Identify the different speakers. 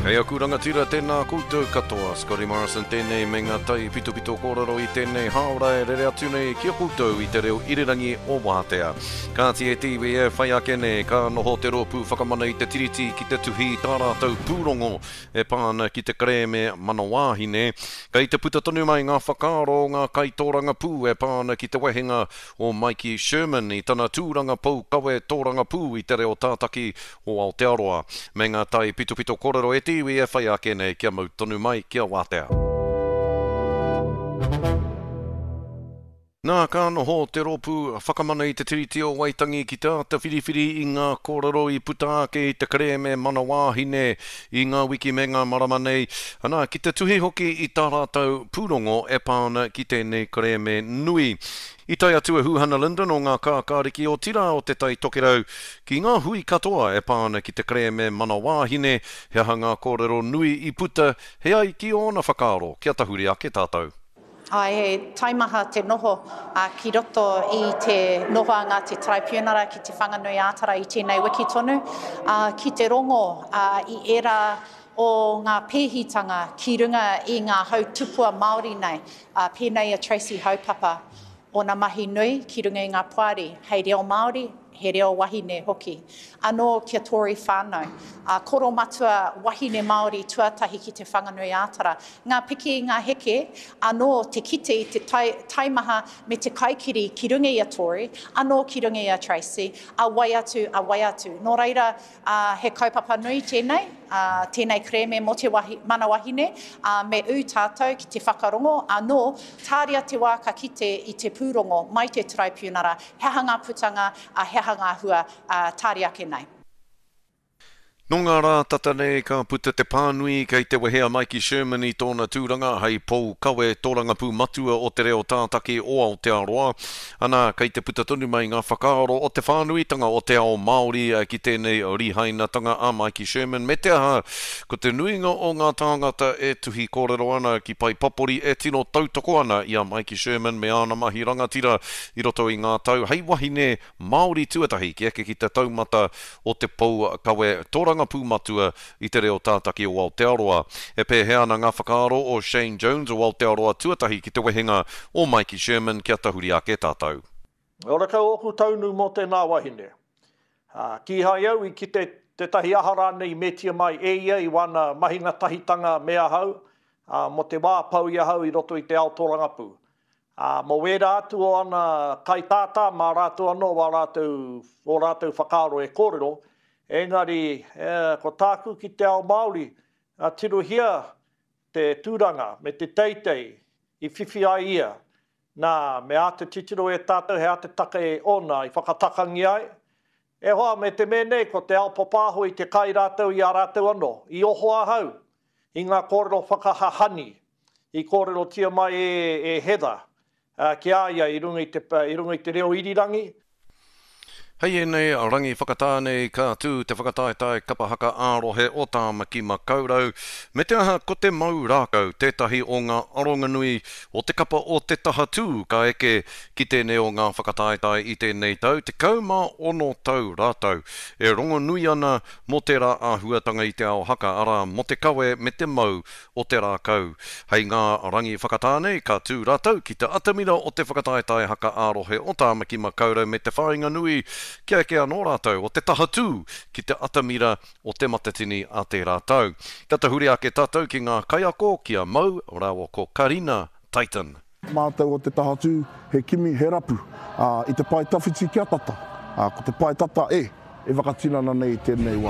Speaker 1: Kei aku rangatira, tēnā koutou katoa. Scotty Morrison tēnei me ngā tai pitopito kōrero i tēnei hāora e rere atu nei ki a koutou i te reo irirangi o Wātea. Kāti e te iwi e whai ake nei, ka noho te Rōpū Whakamana i te Tiriti ki te tuhi i tā rātou pūrongo e pā ana ki te kerēme Mana Wāhine. Kei te puta tonu mai ngā whakaaro o ngā kaitōrangapū e pā ana ki te wehenga o Maiki Sherman i tana tūranga pou kawe tōrangapū i te reo tātaki o Aotearoa. Me ngā taipitopito kōrero e te iwi e whai ake nei kia mau tonu mai kia wātea. Nā, ka noho te Rōpū Whakamana i te Tiriti o Waitangi ki te āta whiriwhiri i ngā kōrero i puta ake i te kerēme Mana Wāhine i ngā wiki me ngā marama nei, ana, ki te tuhi hoki i tā rātou pūrongo e pā ana ki tēnei kerēme nui. I tae atu a Huhana Lyndon o Ngā Kākāriki otirā o Te Tai Tokerau ki ngā hui katoa e pā ana ki te kerēme Mana Wāhine, he aha ngā kōrero nui i puta, he ai ki ōna whakaaro, kia tahuri ake tātou.
Speaker 2: Āe, he taimaha te noho ki roto i te nohoanga te Taraipiunara ki Te Whanganui-ā-Tara i tēnei wiki tonu, ki te rongo i ērā o ngā pēhitanga ki runga i ngā hau tupua Māori nei, pēnei i a Tracy Haupapa, ōna mahi nui ki runga i ngā poari hei reo Māori, he reo wahine hoki. Anō kia Tory whānau, a koro matua wahine Māori tuatahi ki Te Whanganui-ā-Tara. Ngā piki, ngā heke, anō te kite i te taimaha me te kaikiri ki runga i a Tory, anō ki runga i a Tracy, a wai atu, a wai atu. Nō reira, he kaupapa nui tēnei, tēnei kerēme mō te mana wahine, me ū tātou ki te whakarongo, anō, tāria te wā ka kite i te pūrongo mai te Taraipiunara, He aha ngā putanga, ā, he aha ngā hua, ā, tāria ake nei.
Speaker 1: Nō ngā rā tata nei ka puta te pānui kei te wehe a Maiki Sherman i tōna tūranga hei pou kawe tōrangapū matua o te reo tātaki o Aotearoa. Ana, kei te puta tonu mai ngā whakaaro o te whānuitanga o te ao Māori ki tēnei rihainatanga a Maiki Sherman me te aha, ko te nuinga o ngā tāngata e tuhi kōrero ana ki pae papori e tino tautoko ana i a Maiki Sherman me āna mahi rangatira i roto i ngā tau hei wahine Māori tuatahi ki eke ki te taumata o te pou kawe tōrangapū matua i te reo tātaki o Aotearoa. E pēhea ana ngā whakaaro o Shane Jones o Aotearoa tuatahi ki te wehenga o Maiki Sherman kia tahuri ake tātou.
Speaker 3: Horekau ōku taunu mō tēnā wahine. Ā, kīhai au i kite tētahi aha rānei i metia mai e ia i wāna mahinga tahitanga me ahau, ā, mō te wā pau i ahau i roto i te ao tōrangapū. Ā, mō wērā atu o ana kaitātā, mā rātou anō wā rātou, ō rātou whakaaro e kōrero, engari, ko tāku ki te ao Māori, tirohia te tūranga me te teitei i whiwhi ai ia, nā, me āta titiro e tātou he aha te take ōna i whakatakangia ai. E hoa, me te mea nei, ko te ao papāho i te kai rātou i a rātou anō. I oho ahau i ngā kōrero whakahahani i kōrerotia mai e Heather ki a ia i runga i te, i runga i te reo irirangi.
Speaker 1: Hei ēnei rangi whakatā nei ka tū te whakataetae kapa haka ā-rohe o Tāmaki Makaurau, me te aha ko te mau rākau tētahi o ngā aronganui o te kapa o Te Taha Tū ka eke ki tēnei o ngā whakataetae i tēnei tau, 16 tau rātou e rongonui ana mō tērā āhuatanga i te ao haka, arā, mō te kawe me te mau o te rākau. Hei ngā rangi whakatā nei, ka tū rātou ki te atamira o te whakataetae haka ā-rohe o Tāmaki Makaurau me te whāinga nui kia eke anō rātou o te taha tū ki te atamira o Te Matatini a tērā tau. Kia tahuri ake tātou ki ngā kaiako, ki a Mau rāua ko Karina Titan.
Speaker 4: Mātou o te taha tū, he kimi, he rapu, ā, i te pae tawhiti kia tata, ā, ko te pae tata e, e whakatinana nei i tēnei wā.